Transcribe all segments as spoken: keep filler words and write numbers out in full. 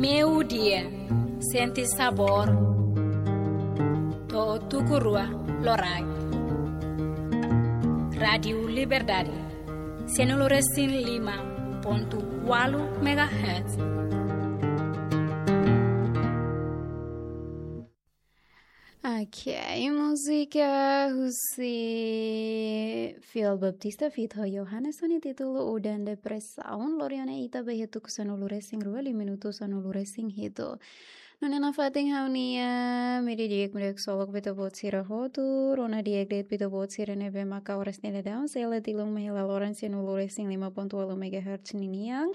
Meio-dia, sente sabor. To'o tuku rua loraik. Rádiu Liberdade, sanulu-resin-lima pontu ualu megahertz. Ok, múzika husi Fiel Baptista feat ho Johannes ho nia títulu Udan Depresaun. Lori ona ita ba iha tuku sanulu-resin-rua, liu minutu sanulu-resin-hitu. Nune'e nafatin ha'u-nia media di'ak, media solok ba ita-boot sira hotu, rona di'ak de'it ba ita-boot sira ne'ebé maka oras ne'e daudaun, sei la tilun mai hela loron sanulu-resin-lima pontu ualu megahertz ninian.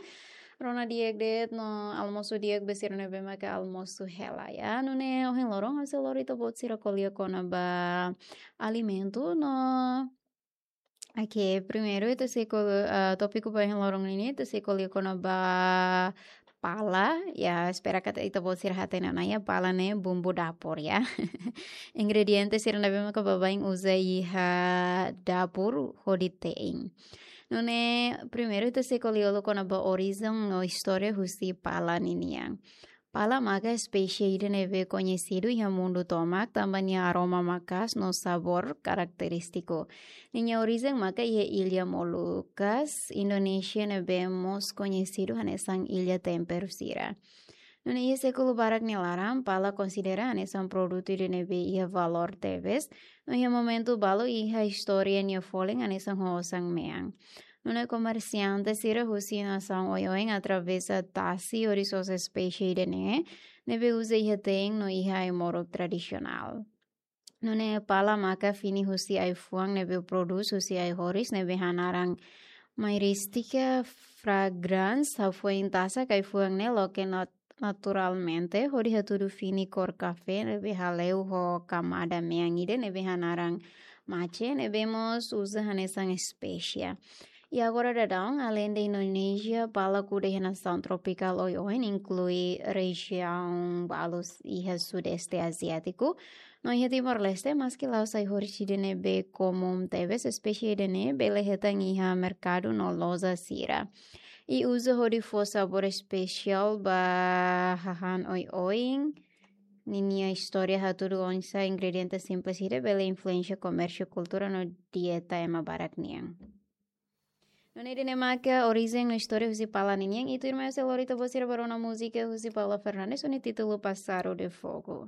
Rona di'ak de'it no almosu di'ak ba sira ne'ebé maka almosu hela, ya. Nune'e ohin loron ha'u sei lori ita-boot sira ko'alia kona-ba alimentu no, ok, primeiru ita sei ko'alia, ah, tópiku ba ohin loron nian, ita sei ko'alia kona-ba pala, ya, espera katak ita-boot sira hatene ona, ya, pala ne'e bumbu dapur, ya. Ingrediente sira ne'ebé maka baibain uza iha dapur hodi te'in. Nune'e primeiru ita sei ko'alia uluk kona-ba orijen no istória husi pala ninian. Pala maka espésie ida ne'ebé koñesidu iha mundu tomak tanba nia aroma maka'as no sabór karakterístiku. Ninia orijen maka iha illa Molukas, Indonézia, ne'ebé mós koñesidu hanesan illa temperu sira. Nune'e iha sékulu barak nia laran, pala konsidera hanesan produtu ida ne'ebé iha valór tebes, no iha momentu balu iha istória nia folin hanesan ho osan mean. Nune'e komersiante sira husi nasaun oioin atravesa tasi hodi sosa espésie ida-ne'e, ne'ebé uza iha te'in no iha ai-moruk tradisionál. Nune'e pala maka fini husi ai-fuan ne'ebé prodús husi ai-horis ne'ebé hanaran Myristica fragrans, hafoin tasak ai-fuan ne'e loke nat-, naturalmente, hodi hatudu fini kór kafé ne'ebé haleu ho kamada mean ida ne'ebé hanaran mace, ne'ebé mós uza hanesan espésia. I agora daudaun, aleinde Indonézia, pala kuda iha nasaun tropikál oioin, inklui rejiaun balu iha Sudeste Aziátiku. No iha Timor-Leste, maski la'ós ai-horis ida ne'ebé komún tebes, espésie ida-ne'e bele hetan iha merkadu no loja sira. I uza hodi fó sabór espesiál ba hahán oioin. Ninia istória hatudu oinsá ingrediente simples ida bele influensia komérsiu, kultura no dieta ema barak nian. Nune'e ida-ne'e maka orijen no istória husi pala ninian, i tuirmai ha'u sei lori ita-boot sira ba rona múzika husi Paula Fernandes ho nia títulu Pássaro de Fogo.